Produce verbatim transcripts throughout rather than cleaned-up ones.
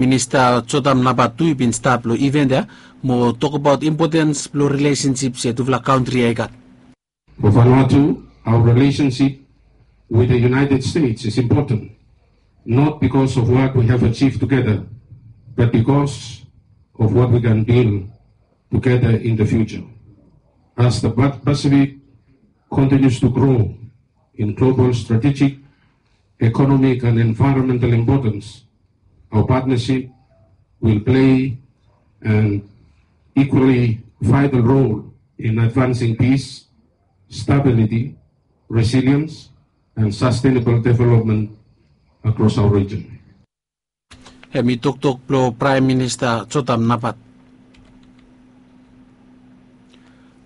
Minista Jotam Napat tu i bin stap long iven ya mo tokbaot impotens blong rilesensip se tufala kantri ya i gat. For Vanuatu, our relationship with the United States is important, not because of what we have achieved together, but because of what we can build together in the future. As the Pacific continues to grow in global strategic, economic and environmental importance, our partnership will play an equally vital role in advancing peace, stability, resilience and sustainable development across our region. Hem i toktok blong Praem Minista Jotam Napat.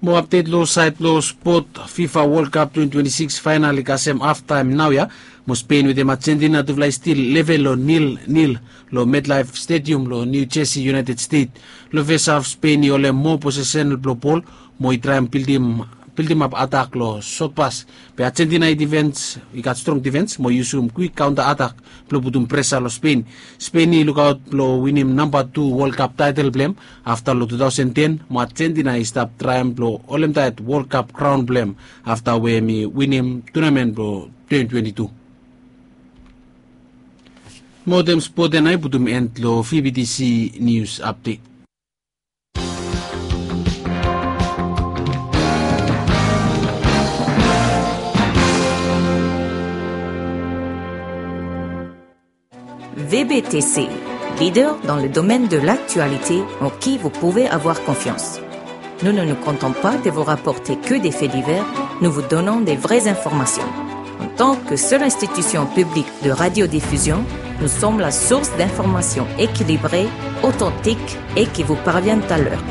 Mo apdet long saed blong spot, FIFA World Cup twenty twenty-six faenal i kasem haftaem naoia. Mo Spen wetem Ajentina tufala i stil level long nil nil long MetLife Stadium long New Jersey, United States. Long fes haf Spen i holem moa posesen blong bol mo i traem bildimap atak long sotpas. Be Ajentina i difens, i gat strong difens mo i yusum kwik kaonta atak blong putum presa long Spen. Spen i lukaot blong winim namba tu World Cup taetel blong hem afta long two thousand ten, mo Ajentina i stap traem blong holemtaet World Cup kraon blong hem afta we hem i winim tunamen blong twenty twenty-two. Mo wetem spot ya nao i putum en long VBTC News Update. VBTC, leader dans le domaine de l'actualité en qui vous pouvez avoir confiance. Nous ne nous contentons pas de vous rapporter que des faits divers, nous vous donnons des vraies informations. En tant que seule institution publique de radiodiffusion, nous sommes la source d'informations équilibrées, authentiques et qui vous parviennent à l'heure.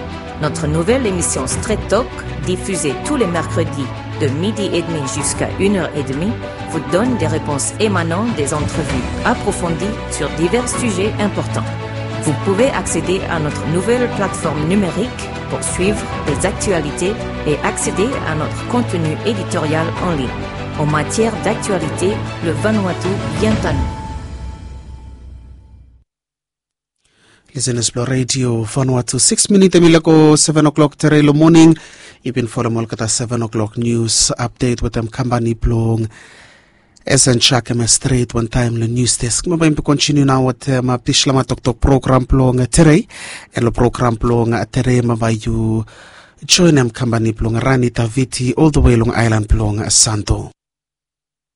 Notre nouvelle émission Straight Talk, diffusée tous les mercredis de midi et demi jusqu'à une heure et demie, vous donne des réponses émanant des entrevues approfondies sur divers sujets importants. Vous pouvez accéder à notre nouvelle plateforme numérique pour suivre les actualités et accéder à notre contenu éditorial en ligne. En matière d'actualité, le Vanuatu vient à nous. Lisenas blong redio Vanuatu, sikis minit hem i lago seven o'clock tere long moning. Yu bin folem olgeta seven o'clock news update wetem kampani blong Esen Jakem Stret wantaem long news desk. Maba yumi bin kontiniu nao wetem Bislama Toktok program blong tere. An long program blong tere maba yu joenem kampani blong Rani Taviti ol the way long aelan blong Santo.